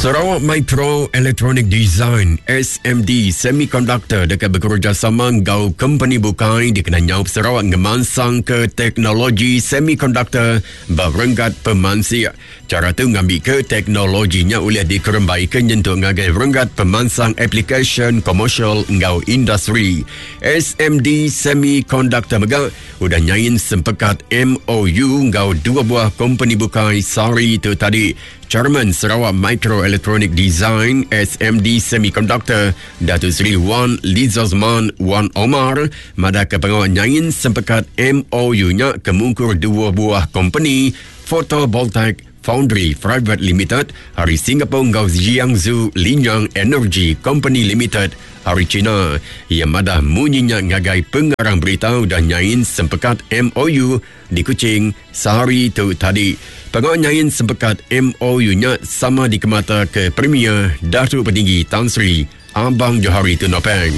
Sarawak Micro Electronic Design, SMD, Semiconductor deka bekerejasama enggau kompeni bukai dikena nyaup Sarawak ngemansangka teknologi semikonduktor ba renggat pemansik. Chara tu ngambika teknologi nya ulih dikerembaika nyentuk ngagai renggat pemansang aplikasyen komersial enggau industri. SMD Semiconductor mega udah nyain sempekat MOU enggau dua buah kompeni bukai sehari tu tadi. Chairman Sarawak Microelectronic Design SMD Semiconductor Datuk Seri Wan Lizazman Wan Omar madahka pengawa nyain sempekat MOU nya ke mungkur dua buah kompeni Photovoltaic Foundry Private Limited ari Singapore enggau Jiangsu Linyang Energy Company Limited ari China. Iya madah munyi nya ngagai pengarang berita udah nyain sempekat MOU di Kuching sehari tu tadi. Pengawa nyain sempekat MOU nya sama dikemata ke Premier Datuk Patinggi Tan Sri Abang Johari Tun Openg.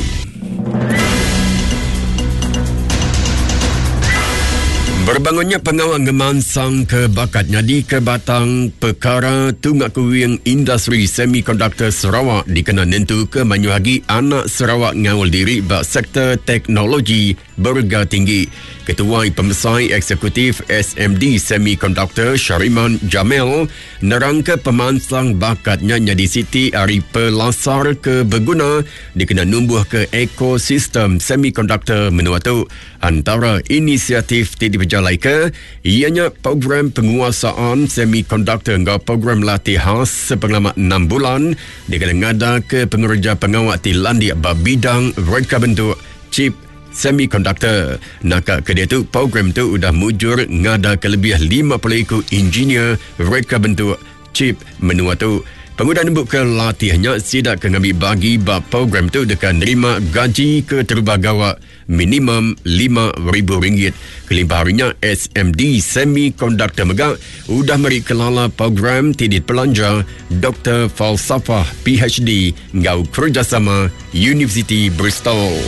Berbangunnya pengawa ngemansang ke bakat nyadi ke batang pekara tunga kuing industri semikonduktor Sarawak dikena nentu ke mayuh agi anak Sarawak ngaul diri ba sektor teknologi Berega tinggi. Ketuai Pemesai Eksekutif SMD Semiconductor Shariman Jamil nerangka pemansang bakat nya nyadi siti ari pelasar ke beguna dikena numbuhka ekosistem semikonduktor menua tu. Antara inisiatif ti dipejalaika iya nya program penguasaan semikonduktor enggau program latih khas sepengelama enam bulan dikena ngadaka pengereja pengawa ti landik ba bidang reka bentuk chip semikonduktor. Naka ke diatu, program tu udah mujur ngadaka lebih 50 iku injinir reka bentuk chip menua tu. Pengudah nembuka latih nya, sida ke ngambi bagi ba program tu deka nerima gaji keterubah gawa minimum RM5,000. Kelimpah ari nya, SMD Semikonduktor mega udah meri kelala program ti dipelanja Doktor Falsafah PhD enggau kerejasama Universiti Bristol.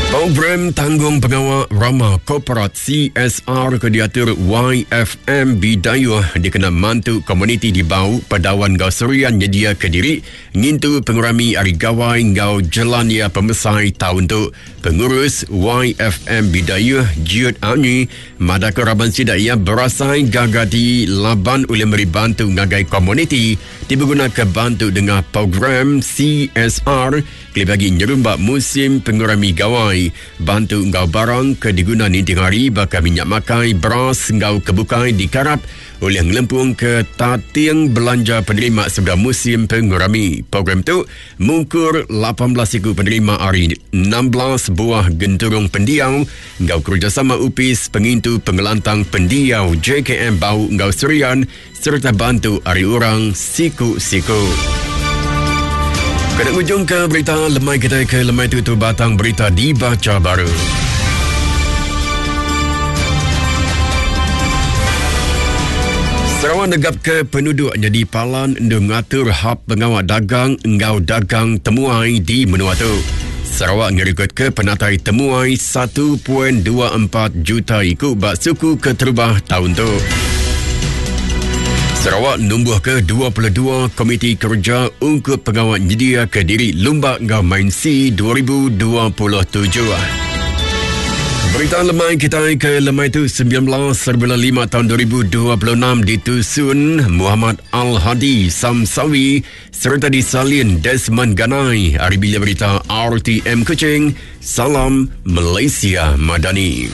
Program Tanggung Pengawa Rama Korporat CSR ke diatur YFM Bidayuh dikena mantu komuniti di Bau, Padawan enggau Serian nyediaka diri ngintu pengerami Hari Gawai enggau Jelan Iya Pemesai taun tu. Pengurus YFM Bidayuh Jiut Anyi Madahka raban sida iya berasai gaga ati laban ulih meri bantu ngagai komuniti ti begunaka bantu nengah program CSR kelebih agi nyerumba musim pengerami Gawai. Bantu enggau barang ke diguna ninting hari baka minyak makai, beras enggau ke bukai dikarap ulih ngelempungka tating belanja penerima sebedau musim pengerami. Program tu mungkur 18 iku penerima ari 16 buah genturung pendiau enggau kerejasama Opis Pengintu Pengelantang Pendiau JKM Bau enggau Serian sereta bantu ari orang siku-siku. Kena ngujungka berita lemai kita ke lemai tu tu batang berita dibaca baru. Sarawak negapka penuduk nyadi palan endur ngatur hab pengawa dagang enggau dagang temuai di menua tu. Sarawak ngerekodka penatai temuai 1.24 juta iku ba suku keterubah taun tu. Sarawak numbuhka 22 komiti kereja ungkup pengawa nyediaka diri lumba enggau main SEA 2027. Berita lemai kitai ke lemai tu 19.5 tahun 2026 ditusun Muhammad Al-Hadi Samsawi sereta disalin Desmond Ganai ari Bilik Berita RTM Kuching. Salam Malaysia Madani.